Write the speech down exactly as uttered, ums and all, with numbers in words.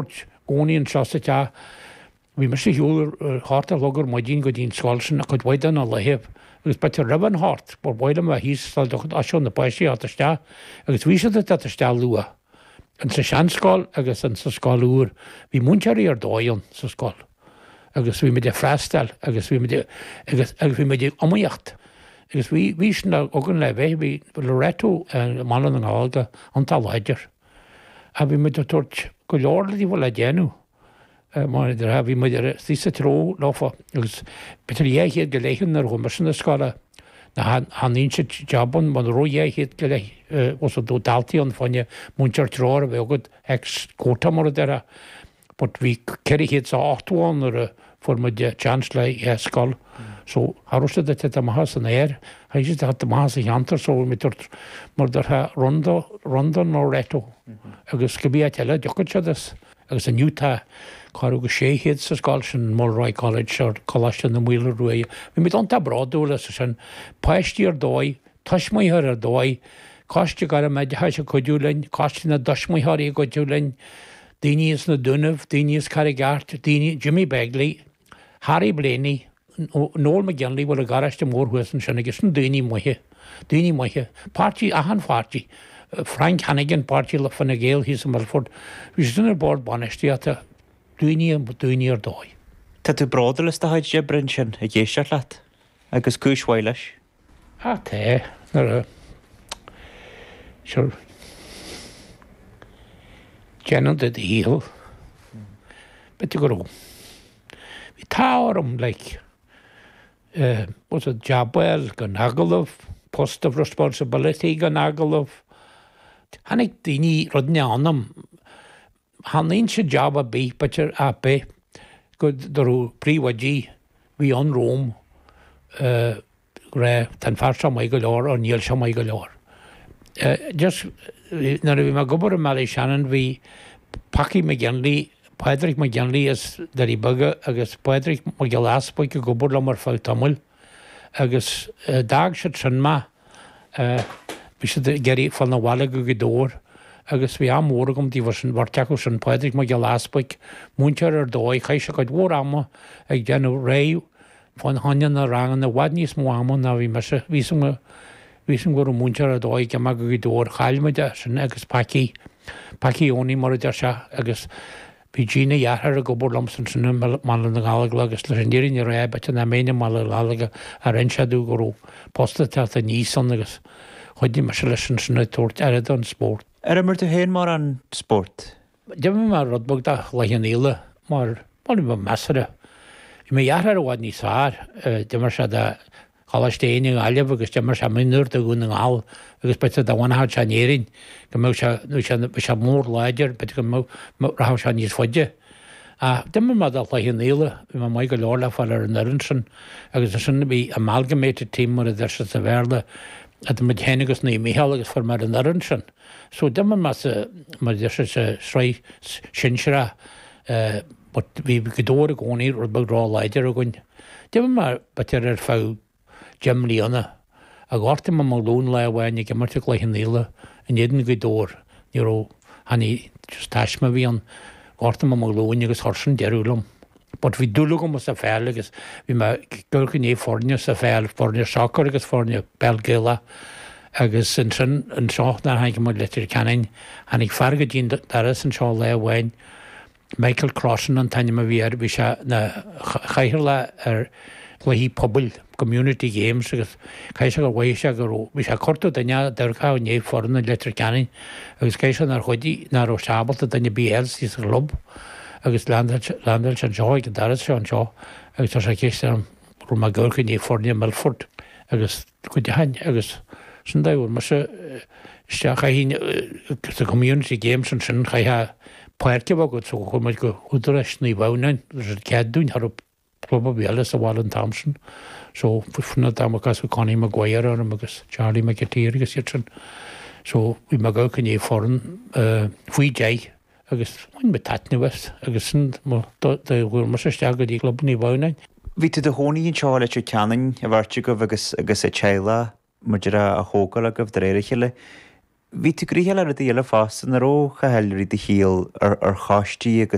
I gcónaí anseo sa teach. Bhí mise ar shiúl ar hocht a chlog ar maidin go dtí an scoil sin cuid mhaith de na laethe agus b'fhéidir roimh an hocht ba mhaith liom a bheith thíos sula dtoiseodh na páistí a theacht isteach agus bhí siad ag teacht isteach luath. Insa seanscoil agus insa scoil úr bhí múinteoirí ar dóigh ann sa scoil agus bhí muid ag freastal agus bhí muid agus agus bhí muid ag iomaíocht agus bhí bhí sin againn le bheith bhí Loreto i mBaile na nGallóglach iontach láidir. A bhí muid ag tabhairt go leor le déanamh. Mar a bhí muid ar sa treo leofa agus b'fhéidir dhá chéad go leith nuair a chuaigh mise na scoile chan aon job ann mar raibh dhá chéad go leith os do daltaí ann fá choinne múinteoir treoir a bheith agat X quota mar a déarfá. But bhí ceithre chéad is a ochtó ann nuair a fuair muid chance le dhá scoil. So cha raibh siad ag teacht amach as an aer, chaithfidh siad teacht amach as an cheantar so bhí muid mar déarfá run don Loreto agus cibé áit eile a dtiocfadh siad as. Agus inniu tá corradh go sé chéad sa scoil sin Mulroy College ar Coláiste na Maoile Ruaidhe. Bhí muid iontach bródúil as sin, páistí ar dóigh, tuismitheoirí ar dóigh, Coiste Gairmoideachais ag cuidiú linn, Coiste na dTuismitheoirí ag cuidiú linn, daoine as na Dúnaibh, daoine as Carraig Airt, daoine Jimmy Begley, Harry Blaney, Noel McGinley bhfuil an garáiste mór thuas ansin agus sin daoine maithe, daoine maithe, páirtí achan pháirtí. Frank Hannigan, páirtí le Fine Gael thíos i Milford, bhí siad sin ar bord bainistíochta, daoine daoine ar dóigh. Tá tú bródúil as do chuid oibre ansin ag éisteacht leat agus cúis mhaith leis. Ah tá nuair a sure déanann tú do dhícheall. B'fhéidir go raibh. Bhí t-ádh orm like uh, was it job well gan agallamh, post of responsibility gan agallamh. Tháinig daoine rud anam chan aon job ar bith b'fhéidir ar bith go raibh príomhoidí bhí ann romham uh, rá tá an fear seo maith go leor or níl sé maith go leor. Uh, just nuair a bhí mé ag obair i mBallyshannon bhí Packy McGinley, Padraig McGinley as Doirí Beaga agus Padraig Mac Giolla Easpaig ag obair liom ar feadh tamaill agus uh, d'fhág siad sin mé uh, bhí siad ag iarraidh fáil na bhaile go Gaoth Dobhair agus bhí am mór agam díobh sin bheirt acu sin Padraig Mac Giolla Easpaig múinteoir ar dóigh chaith sé cuid mhór ama ag déanamh réidh fá choinne na ranganna i bhfad níos mó ama ná bhí mise bhí bhí go raibh múinteoir ar dóigh go go Gaoth Dobhair chaill muid é sin agus Packy Packy Oni mar a deir sé agus bhí Gina dheartháir ag obair liom sin sin i mBaile na nGallóglach agus leis an fhírinne a rá b'fhéidir nach mbeinn i mBaile na nGallóglach ar inis dom go raibh post ag teacht aníos ann agus chuidigh mise leis sin sin ag tabhairt aire don spórt. Ar imir tú féin mar an spórt? D'imir mé rud beag de Chloich Cheann Fhaola mar mar bhí measartha. Bhí mo dheartháir i bhfad níos fearr, d'imir sé do Choláiste Éinne i nGaillimh agus d'imir sé mionúr do Dhún na nGall agus b'fhéidir dá bhfanfadh sé in Éirinn go mbeadh sé nó sé bhí sé mór láidir b'fhéidir go mbeadh rachadh sé níos faide. Ach d'imir mé do Chloich Cheann Fhaola, bhí mé maith go leor le fáil ar an fhoireann sin agus ansin bhí amalgamated team mar a deir siad sa Bhéarla idir muid féin agus Naomh Mícheál agus fuair mé ar an fhoireann sin. So d'imir mé sa mar a deir siad sa sraith sinsearach uh, but bhí Gaoth Dobhair i gcónaí rud beag ró-láidir againn. D'imir mé b'fhéidir ar feadh deich mbliana a ghortaigh mé mo ghlúin lá amháin ag imirt i gCloich Cheann Fhaola in éadan Ghaoth Dobhair ní raibh chan í just taisme a bhí ann ghortaigh mé mo ghlúin agus chuir sin deireadh liom. But bhí dúil agam sa pheil agus bhí mé ag gné foirne sa pheil, foirne soccer agus foirne peil Gaelach agus ansin anseo nuair a tháinig muid Leitir Ceanainn tháinig fear go dtí an doras anseo lá amháin Michael Crossan an t-ainm a bhí air bhí sé na chathaoirleach ar chluichí pobail community games agus caithfidh sé gur mhothaigh sé go raibh bhí sé ag cuartú duine a d'amharcfadh i ndiaidh foireann i Leitir Ceanainn agus caithfidh sé nár chuidigh nach raibh sé ábalta duine ar bith eile sa chlub agus landáil sé anseo ag an doras seo anseo agus tá sé ceist orm raibh mé ag amharc i ndiaidh foirne Milford agus go deimhin agus sin dá bhfuair mise isteach chaithfinn sa community games ansin chaithfeá páirc a bheith agat so chuaigh muid go hÚdarás Naomh Adhamhnáin leis an cead dúinn thar club a bhí eile sa bhaile an t-am sin. So funa dá cas Connie Maguire orm agus Charlie McAteer agus iad sin. So bhí mé ag amharc i ndiaidh foireann uh, faoi deich agus bhain mé taitneamh as agus sin chuaigh mise isteach go dtí club Naomh Adhamhnáin. Bhí tú i do chónaí anseo i Leitir Ceanainn a bheirt agaibh agus agus a teaghlach muidir a thógáil agaibh de réir a chéile. Bhí tú gnoitheach le rudaí eile fosta, nach raibh, a Chathail, i rith do shaoil ar ar choistí agus